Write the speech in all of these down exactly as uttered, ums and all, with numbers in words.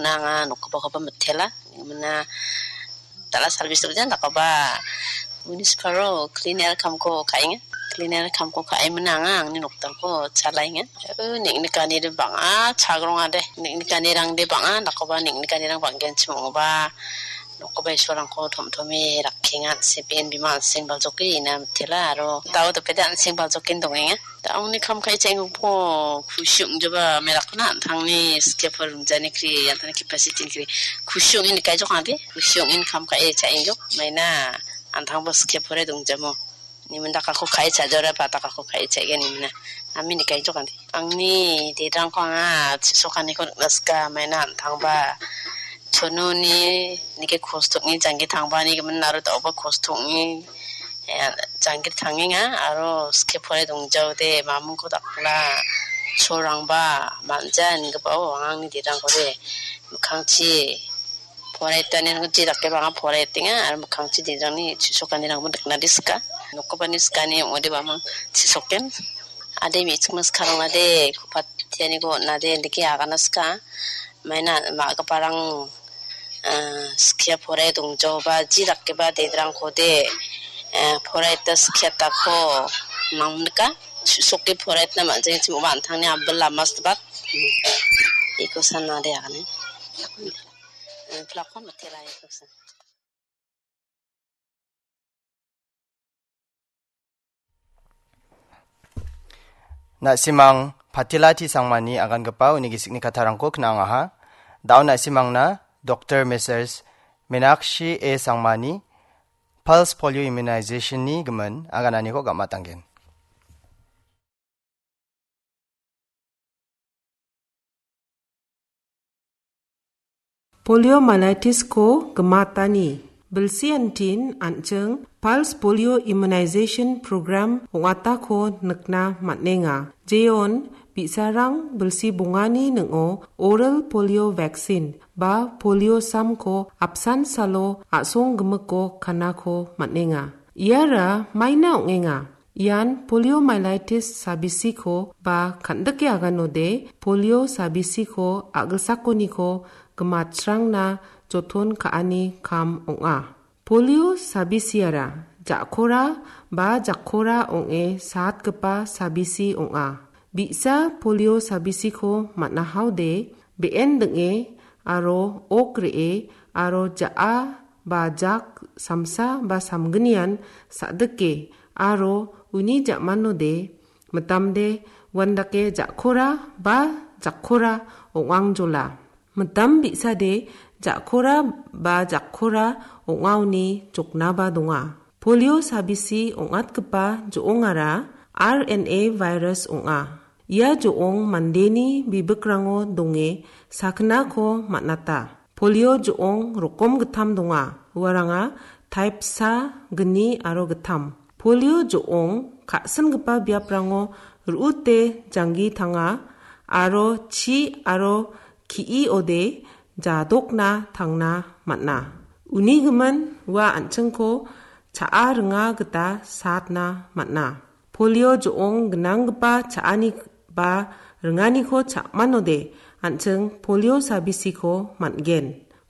Nanga nokgipakoba mitela. Mina dal·a service-o jan dakgipa municipal-o cleaner kamko ka·enga. Cleaner kamko ka·e mina anga angni nokdangko chalaenga. Eh, neng·nikanide bang·a chagrongade. Neng·nikanirangde bang·a, dakgipa neng·nikanirang bang·genchim ong·oba. Nokgipa isolrangko tom-tome rakkenga, an·seng, bima an·seng baljoke ina mitela, aro dao dapede an·seng baljoken dongenga. Da·ongni kam ka·e cha·enggipa kusi ong·joba merakna an·tangni skia pore dongjani kri, an·tangni capacity-ni kri. Kusi ong·e nikaijok ade, kusi ong·e kam ka·e cha·engjok, maina an·tangba skia pore dongjamo. Nimin dakako ka·e cha·jora, ba dakako ka·e cha·gen nimina. Ami nikaijok ande. Angni derangko anga chisokaniko nikna sika, maina an·tangba chononi nike kostokni janggi tangbani gimin aro da·oba kostokni, eh, janggi tangenga aro skie pore dongjaode mamingko dakna cholrangba man·ja ingipao angni derangkode mikkangchi Poraitani je dakeba anga poraitenga, aro mikkangchi derangni chisokanirangba nikna de sika. Nokgipani sikani ong·ode bamang chisoken. Ade me·chikma sikarangna de kupatianiko on·ade indike agana sika. Maina ma·giparang, ah, skia porae dongjaoba ji dakeba derangkode, eh, poraita skiatako nangnika. Chisoke poraitna man·jengchim ong·a an·tangni abil lama sitbak. Iko sanade agane. Eh, plakon matela iko san. Na·simang Patila T Sangmani agangipa uni gisikni kattarangko kna·angaha. Da·o na·simangna Doktor Messrs Meenakshi A Sangmani Pulse Polio Immunization-ni gimin agananiko gam·atanggen. Poliomyelitis-ko gimatani bilsiantin an·ching Pulse Polio Immunization Program ong·atako nikna man·enga. Jeon bi·sarang bilsi bongani ning·o oral polio vaccine ba polio samko apsan salo a·song gimiko kanako man·enga. Iara maina ong·enga. Ian poliomyelitis sabisiko ba kan·dike aganode polio sabisiko a·gilsakoniko gimatsrangna joton ka·ani kam ong·a. Polio sabisiara ja·kora ba jakkora ong·e saatgipa sabisi ong·a. Bi·sa polio sabisiko man·ahaode be·en ding·e aro ok re·e aro ja·a ba jak samsa ba samgnian sa·dike aro uni ja·manode mitamde uandake ja·kora ba jakkora ong·angjola. Mitam bi·sade ja·kora ba jakkora ong·aoni joknaba donga. Polio sabisi ong·atgipa jo·ongara R N A virus ong·a. Ia jo·ong mandeni bibikrango donge sakgnako man·ata. Polio jo·ong rokom gittam donga. Uaranga taipsa, gni aro gittam. Polio jo·ong ka·singipa biaprango ru·ute janggi tanga aro chi aro ki·ode jadokna tangna man·a. Uni gimin ua an·chingko cha·a ringa gita satna man·a. Polio jo·ong gnanggipa cha·ani ba ringaniko cha·manode an·ching polio sabisiko man·gen.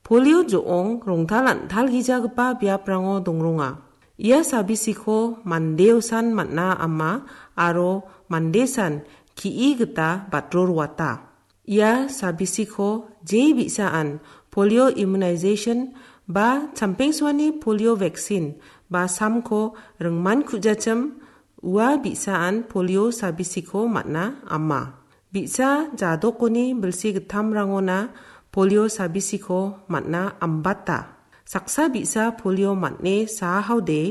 Polio jo·ong rongtal an·talgijagipa biaprango dongronga. Ia sabisiko mandeosan man·a ama aro mandesan ki·i gita batro roata. Ia sabisiko je bi·saan polio immunization ba champengsoani polio vaccine ba samko ringman ku·jachim, ua bi·saan polio sabisiko man·a ama. Bi·sa jadokoni bilsi gittamrangona polio sabisiko man·a ambata. Saksa bi·sa polio man·e saahaode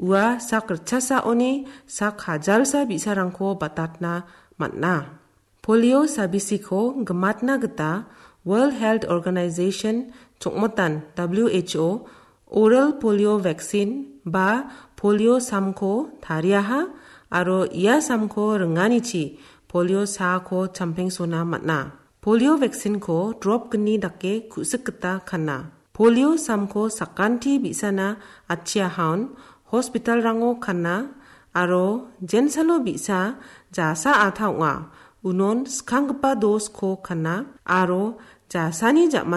ua sak ritchasaoni sak hajalsa bi·sarangko batatna man·a. Polio sabisiko gimatna gita World Health Organization chongmotan, W H O, oral polio vaccine ba polio samko tariaha aro ia samko ringanichi polio saako champengsona man·a. Polio vaccine-ko drop gni dake ku·sik gita kana. Polio samko sakanti bi·sana atchiahaon hospital-rango kana aro jensalo bi·sa jasa ata ong·a. Unon skanggipa dos-ko kana aro jasani ja·man